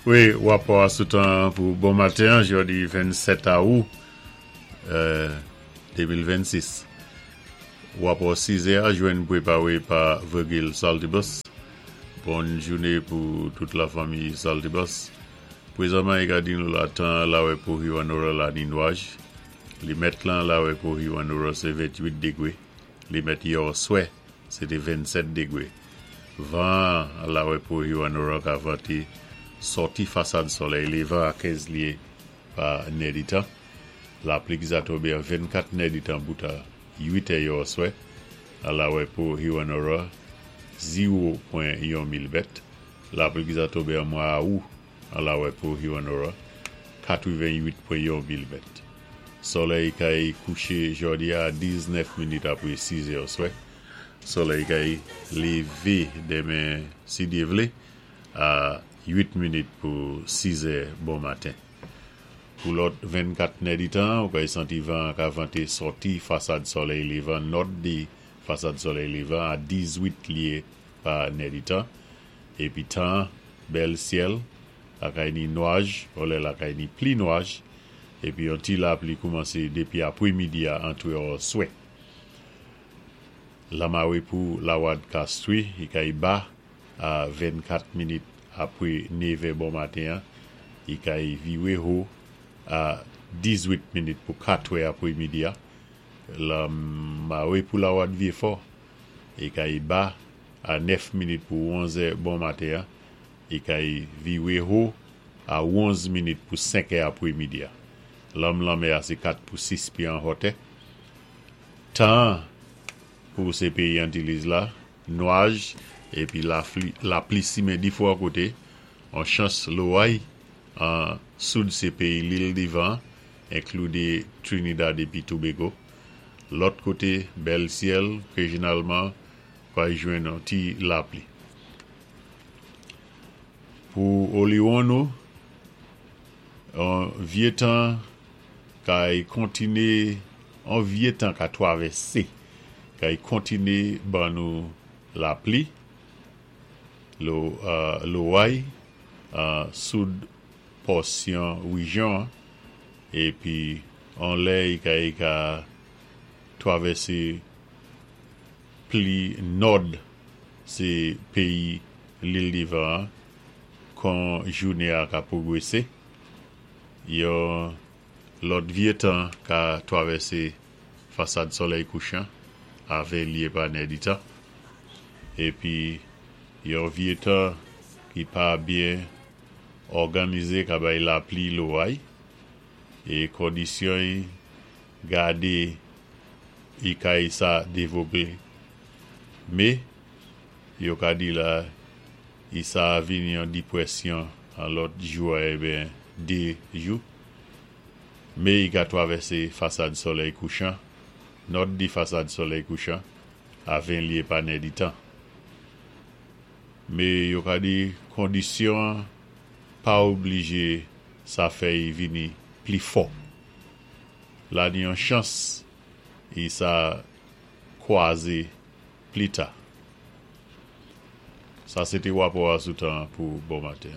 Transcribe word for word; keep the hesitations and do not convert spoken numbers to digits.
Wi, wapò a sou tan pou bon maten, jòdi vennsèt awou de mil vennsis. Wapò sizè a jwenn pwépawé pa Virgil Saltibus. Bon jouné pou tout la fanmi Saltibus. Pwézanman i ka di nou la tan lawè pou Hewanorra la ni nwaj. Li mèt lan lawè pou Hewanorra sé venntwit dégwé. Li mèt yèoswè, sé té vennsèt dégwé. Van lawè pou Hewanorra ka vanté sòti fasad solèy lévan a kenz lyé pa nèditan. Lapli ki sa tonbé an vennkat nèditan bout a uit è yèoswè. A lawè pou Hewanorra zewo pwen yon milimèt. Lapli ki sa tonbé an mwa awou an lawè pou Hewanorra katreven-uit pwen yon milimèt. Solèy kay kouché jòdi a diznèf minit apwé sis è oswè. Solèy kay lévé denmen si Dye vlé a uit minit pou sis è bon maten. Pou lòt vennkat nèditan, ou kay santi van ka vanté sòti fasad solèy lévan, nòd di fasad solèy lévan a dizwit lyé pa nèditan. Épi tan, bèl syèl, lakay ni nwaj, olè lakay ni pli nwaj, épi yon ti lapli koumansé dépi apwémidi a antwé oswè. Lamawé pou Lawad Castries, i kay ba a vennkat minit apwé nevè bon maten, i kay viwé ho a dizwit minit pou katwè apwémidi a. Lamawé pou Lawad Vyéfò, i kay ba a nèf minit pou onzè bon maten, i kay viwé ho a onz minit pou senkè apwémidi a. Lanm lanmè a sé kat pou sis pyé an hotè. Tan pou sé péyi Antiliz la, nwaj, épi lapli simen difwa koté, an chans loway, an soud sé péyi Lil Divan, enklu Trinidad épi Tobago. Lòt koté, bèl syèl, rejyonalman, pway jwenn an ti lapli. Pou Oliwon nou, an vye tan kay kontiné, an vye tan ka twavèsé, kay kontiné ban nou lapli, loway, soud pòsyon wijyon, épi an lè kay ka twavèsé pli nòd sé péyi Lil Divan kon jouné a ka pwogwésé. Yon lòt vye tan ka twavèsé fasad solèy kouchan a ven lyé pa nèditan. Épi yon vye tan ki pa byen òganizé ka bay lapli loway é kondisyon gadé i kay sa dévlopé. Mé yo ka di la i sa vini an dipwésyon an lòt jou a eben dé jou. Mé i ka twavèsé fasad solèy kouchan, nòd di fasad solèy kouchan a ven lyé pa nèditan. Mé yo ka di kondisyon pa oblijé sa fè i vini pli fò. La ni an chans i sa kwazé pli ta. Sa sé té wapò a sou tan pou bon maten.